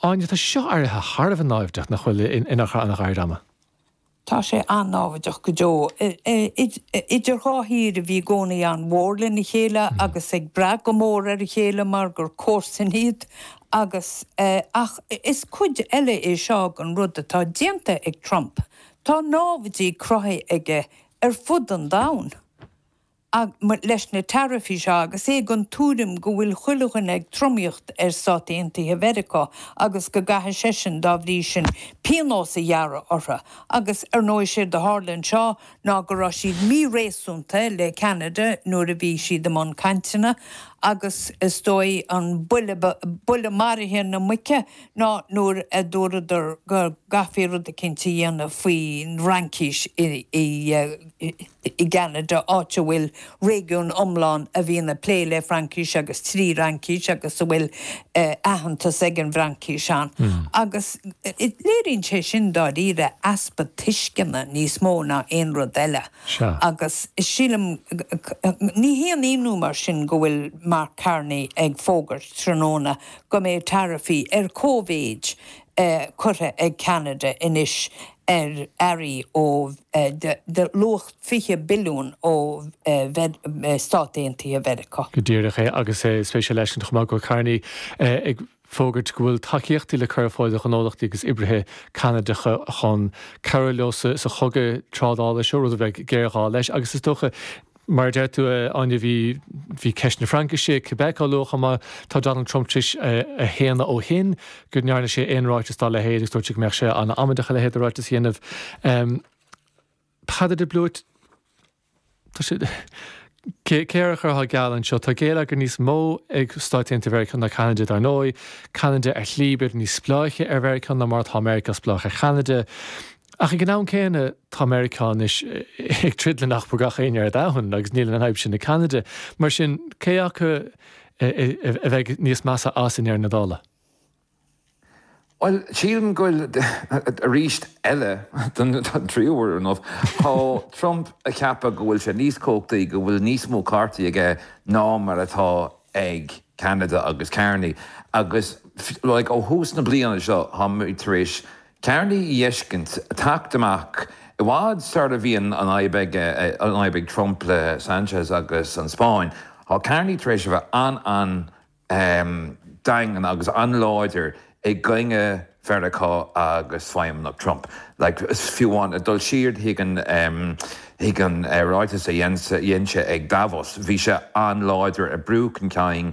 Áine, tá sé seo éirithe thar a bheith naimhdeach, nach bhfuil, in achar an-ghairid ama? Tá sé an-náimhdeach go deo. Idir dhá thír a bhí i gcónaí an-mhór lena chéile agus ag brath go mór ar a chéile mar gur comharsain iad agus ach is cuid eile é seo den rud atá déanta ag Trump. Tá námhaidí cruthaithe aige ar fud an domhain. leis na taraifí seo agus é den tuairim go bhfuil chuile dhuine ag tromaíocht ar Stáit Aontaithe Mheiriceá agus go gcaithfidh seisean, dá bhrí sin, pionós a ghearradh orthu. Agus, ar ndóigh, séard a tharla anseo ná go raibh siad míréasúnta le Ceanada nuair a bhí siad i mbun cainteanna agus is dóigh an buille, buille maraithe na muice ná nuair a dúradar go gcaithfí rud eicínt a dhéanamh faoin bhFraincís i i gCeanada, áit a bhfuil réigiún iomlán a bhíonn ag plé le Fraincis agus trí Fhraincis agus a bhfuil aitheantas ag an bhFraincis ann. Agus léiríonn sé sin dáiríre easpa tuisceana níos mó ná aon rud eile. Agus sílim, ní haon ionadh mar sin go bhfuil Mark Carney ag fógairt tráthnóna go mbeidh taraifí ar cóimhéid curtha ag Ceanada anois ar earraí ó de luach 20 billiún ó Stáit Aontaithe Mheiriceá. Go díreach é, agus is spéisiúil leis chomh maith go bhfuil Carney ag fógairt go bhfuil tacaíochtaí le cur ar fáil do ghnólachtaí agus oibrithe Ceanadacha chun cabhrú leo sa chogadh trádála seo, rud a bheidh géarghá leis agus is dócha Mar a deir tú, a Áine, bhí, bhí ceist na Fraincise, Quebec á lua chomh maith. Tá Donald Trump tar éis a shéanadh ó shin go ndearna sé aon ráiteas dá leithéid agus dúirt sé go mbeadh sé an-amaideach a leithéid de ráiteas a dhéanamh. Peadar de Blúit, tá sé, cé, cé air a chuirfeá geall anseo? Tá géilleagar níos mó ag Stáit Aontaithe Mheiriceá ná Ceanada, dar ndóigh. Ceanada ar shlí b'fhéidir níos spleáiche ar Mheiriceá ná mar atá Meiriceá spleách ar Cheanada. Ach ag an am céanna, tá Meiriceá anois ag troid le nach beag gach éinne ar domhan agus níl an fhadhb sin ag Ceanada. Mar sin, cé acu a bheidh níos measa as i ndeireadh na dála? Bhuel, sílim go bhfuil, arís eile, don tríú huair inniu, tá Trump ag ceapadh go bhfuil sé níos cumhachtaí, go bhfuil níos mó cártaí aige ná mar atá ag Ceanada agus Carney. Agus, like, ó thús na bliana seo, táimid tar éis Carney a fheiscint ag teacht amach i bhfad sar a bhí an fhadhb aige, an fhadhb ag Trump le Sanchez agus an Spáinn. Tá Carney tar éis a bheith an-an-daingean agus an-láidir i gcoinne Mheiriceá agus feidhmeannacht Trump. Like, fiú amháin ag dul siar chuig an, chuig an ráiteas a dhein sé ag Davos, bhí sé an-láidir ag brú chun cinn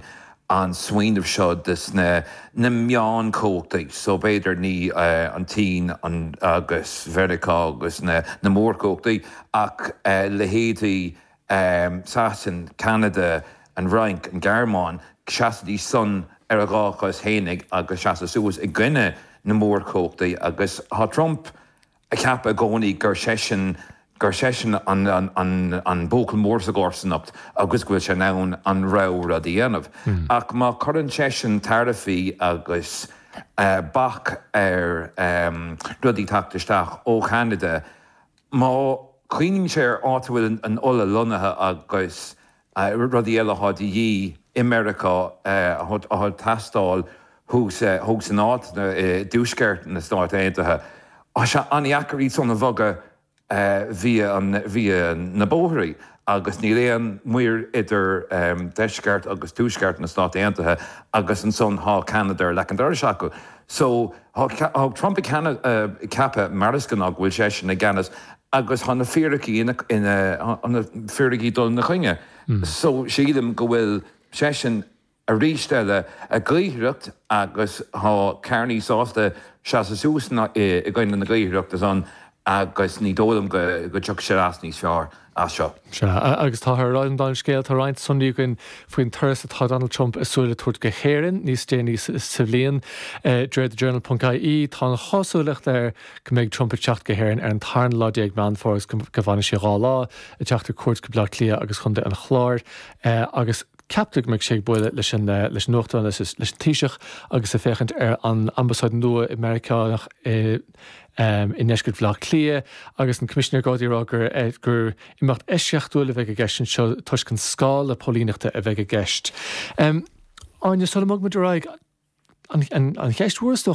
an smaoineamh seo des na na meánchumhachtaí, so b'fhéidir ní an tSín an agus Mheiriceá agus na na mórchumhachtaí ach leithéidí Sasain, Ceanada, an Fhrainc, an Ghearmáin, seasaidís san ar a dhá chos fhéinig agus seasamh suas i gcoinne na mórchumhachtaí agus tá Trump ag ceapadh i gcónaí gur seisean gur seisean an an an buachaill mór sa gcomharsanacht agus go bhfuil sé in ann an rogha rud a dhéanamh. Ach má chuireann seisean taraifí agus bac ar rudaí teacht isteach ó Cheanada, má chuimhníonn sé ar áit a bhfuil an ola lonnaithe agus rudaí eile atá de dhíth i Meiriceá atá ag teastáil thuas san áit i dtuaisceart na Stát Aontaithe. Tá sé an-dheacair iad san a bhogadh via via na bóithrí agus níl aon muir idir deisceart agus tuaisceart na Stát Aontaithe agus ansan tá Ceanada ar leac an dorais acu. So tá Trump ag ceapadh mar is gnáth go bhfuil seisean i gceannas agus tá na fíricí ina, tá na fíricí ag dul ina choinne. So sílim go bhfuil seisean arís eile ag gaothaireacht agus tá Carney sásta seasamh suas i gcoinne na gaothaireachta san agus ní dóigh liom go dtiocfaidh sé as níos fearr as seo. Sea, agus táthar ag rá an dán scéal, tá roinnt sonraí againn faoin turas atá Donald Trump ag súil le tabhairt go hÉirinn níos déanaí sa bhliain. De réir TheJournal ponc ie, tá an chosúlacht air go mbeidh Trump ag teacht go hÉirinn ar an tarna lá déag Meán Fómhair agus go bhfanfaidh sé 2 lá, ag teacht ar cuairt go Baile Átha Cliath agus Chontae an Chláir agus ceaptar go mbeidh sé ag bualadh leis an leis an Uachtarán leis leis an Taoiseach agus ag féachaint ar an ambasáid nua i Meiriceánach i i ndeisceart Bhaile Átha Cliath agus an Coimisinéir Gardaí ag rá gur gur imeacht eisceachtúil a bheidh i gceist anseo toisc an scála póilíneachta a bheidh i gceist. Áine, sula mbogfaimid ar aghaidh, an cheist mhór is dócha.